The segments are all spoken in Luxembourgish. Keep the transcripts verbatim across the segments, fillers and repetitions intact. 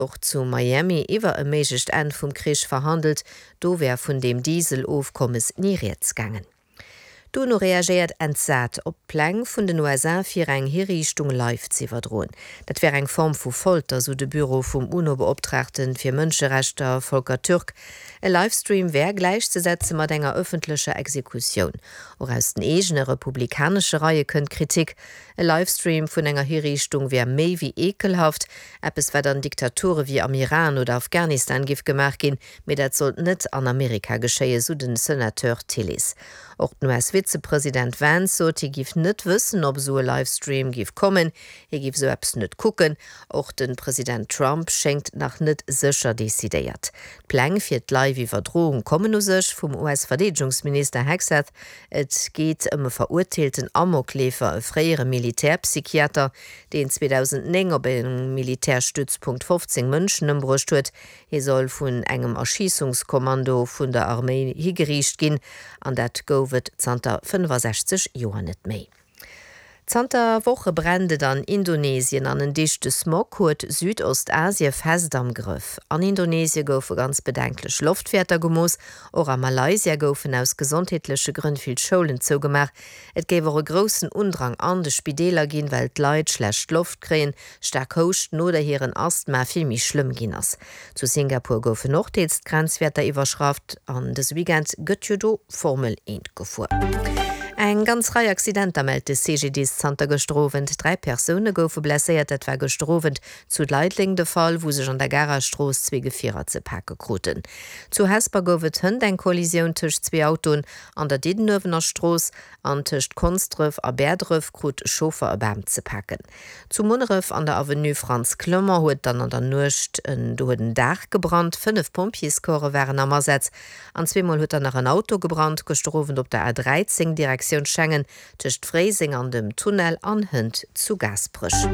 Och zu Miami iwwer e méiglecht Enn vum Krich verhandelt, do wär vun deem Diesel-Ofkommes ni rieds gaangen. D'UNO reagéiert entsat op d'Pläng vun den U S A fir eng Hiriichtung live z'iwwerdroen. Dat wär eng Form vu Folter, sou de Büro vum UNO-Beoptraagte fir Mënscherechter Volker Türk. E Livestream wär gläichzesetze mat enger ëffentlecher Exekutioun. Och aus den eegene republikanesche Reie kënnt Kritik. E Livestream vun enger Hiriichtung wär méi wéi eekelhaft, eppes wat an Diktature wéi am Iran oder Afghanistan giff gemaach ginn, mee dat sollt net an Amerika geschéien, sou den Senateur Tillis. Och den U S-Vizepresident Vance sot, hie giff net wëssen, ob esou e Livestream giff kommen, hie giff esou eppes net kucken. Och de President Trump schéngt nach net sécher decidéiert. D'Pläng fir d'Live-Iwwerdroung kommen u sech vum U S-Verdeedegungsminister Hegseth. Et geet ëm e verurteelten Amokleefer, e fréiere Militärpsychiater, deen zweedausendnéng op engem Militärstützpunkt fofzéng Mënschen ëmbruecht huet. Hie soll vun engem Erschießungskommando vun der Arméi higeriicht ginn, an dat gouf et zanter fënnefasechzeg Joer net méi. Zanter Woche brennt et an Indonesien an en dichte Smog huet Südostasie fest am Grëff. An Indonesie goufe ganz bedenklech Loftwäerter gemooss, och a Malaysia goufen aus gesondheetleche Grënn vill Schoulen zougemaach. Et géif och e groussen Undrang an de Spideeler ginn, well d'Leit schlecht Loft kréien, staark houschten oder hiren Asthma vill méi schlëmm ginn ass. Zu Singapur goufen och deels d'Grenzwäerter iwwerschratt an dëse Weekend gëtt jo do Formel eent gefuer. Eng ganz Rei Accidenter mellt de C G D I S zanter gëschter Owend. Dräi Persoune goufe blesséiert. Dat war gëschter Owend zu Leideleng de Fall, wou sech an der Garer Strooss zwee Gefierer ze pake kruten. Zu Hesper gouf et hënt eng Kollisioun tëscht zwee Autoen an der Diddenuewener Strooss an tëscht Konsdref a Bäerdref krut e Chauffer e Bam ze paken. Zu Munneref an der Avenue Frantz Clement huet dann an der Nuecht en do huet en Daach gebrannt. Fënnef Pompjeescorpse waren am Asaz. An zweemol huet dann nach en Auto gebrannt, gëschter Owend op der A dräizéng Direktioun Schengen tëscht Fréiseng an dem Tunnel an hënt zu Gaasperech.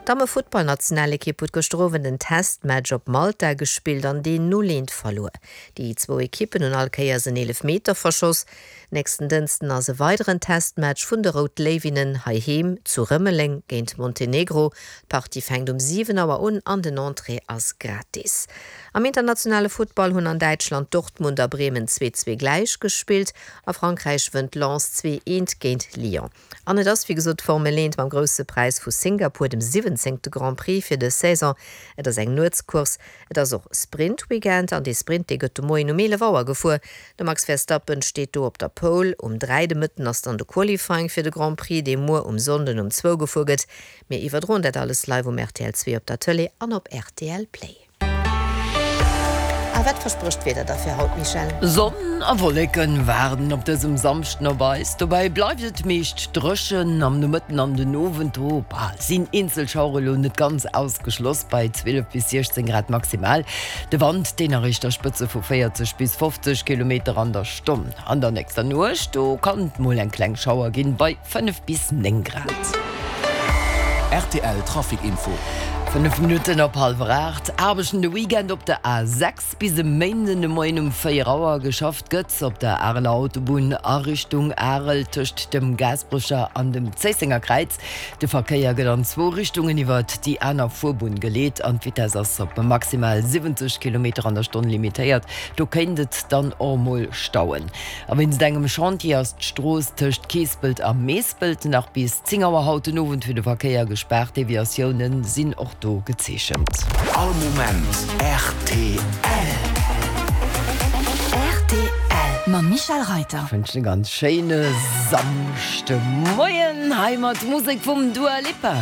D'Damme-Futtballnationalekipp huet gëschter Owend en Testmatch op Malta gespillt an deen null eent verluer. Déi zwou Ekippen hunn all Kéiers en Eelefmeter verschoss. Nächsten Dënschden ass e weideren Testmatch vun de Rout Léiwinnen heiheem zu Rëmeleng géint Montenegro. D'Partie fänkt um siwen Auer un an den Entrée ass gratis. Am internationale Futtball hunn an Däitschland Dortmund a Bremen zwee zwee gläich gespillt. A Frankräich wënnt Lens zwee eent géint Lyon. An et ass wéi gesot d'Formel eent mam Grousse Präis vu Singapur, dem siwwenzéngte Grand Prix fir dës Saison. Et ass eng Nuetscourse, et ass och Sprint-Weekend an dee Sprint dee gëtt de Moien um eelef Auer gefuer. De Max Verstappen steet do op der Pole. Um dräi de Mëtten ass dann de Qualifying fir de Grand Prix, dee muer um Sonnden um zwou gefuer gëtt. Mir iwwerdroen dat alles live um R T L zwee op der Tëlee an op R T L Play. A wat versprécht d'Wieder da fir haut, Michèle? Sonn a Wolleken waarden op dësem Samschden op eis. Dobäi bleift et meescht dréchen. Am Nomëtten an den Owend do sinn eenzel Schauere lo net ganz ausgeschloss bei zwielef bis siechzéng Grad maximal. De Wand deen erreecht da Spëtze vu véierzeg bis fofzeg Kilometer an der Stonn. An der nächster Nuecht do kann et mol eng kleng Schauer ginn bei fënnef bis néng Grad. R T L Trafic Info. Fënnef Minutten op hallwer aacht. Aarbechten de Weekend op der A sechs bis e Méinden de Moien um véier Auer. Geschafft gëtt op der Areler Autobunn a Richtung Arel tëscht dem Gaasperecher an dem Zéissenger Kräiz. De Verkéier gëtt an zwou Richtungen iwwert déi aner Fuerbunn geleet an d'Vitess ass op maximal siwwenzeg Kilometer an der Stonn limitéiert. Do kéint et dann och mol stauen. A wéinst engem Chantier ass d'Strooss tëscht Keespelt a Meespelt nach bis zéng Auer haut den Owend fir de Verkéier gespaart. Deviatioune sinn och do gezeechent. All Moment R T L. R T L mam Michèle Reiter. Ech wënschen e ganz schéine Samschdemoien hei mat Musek vum Dua Lipa.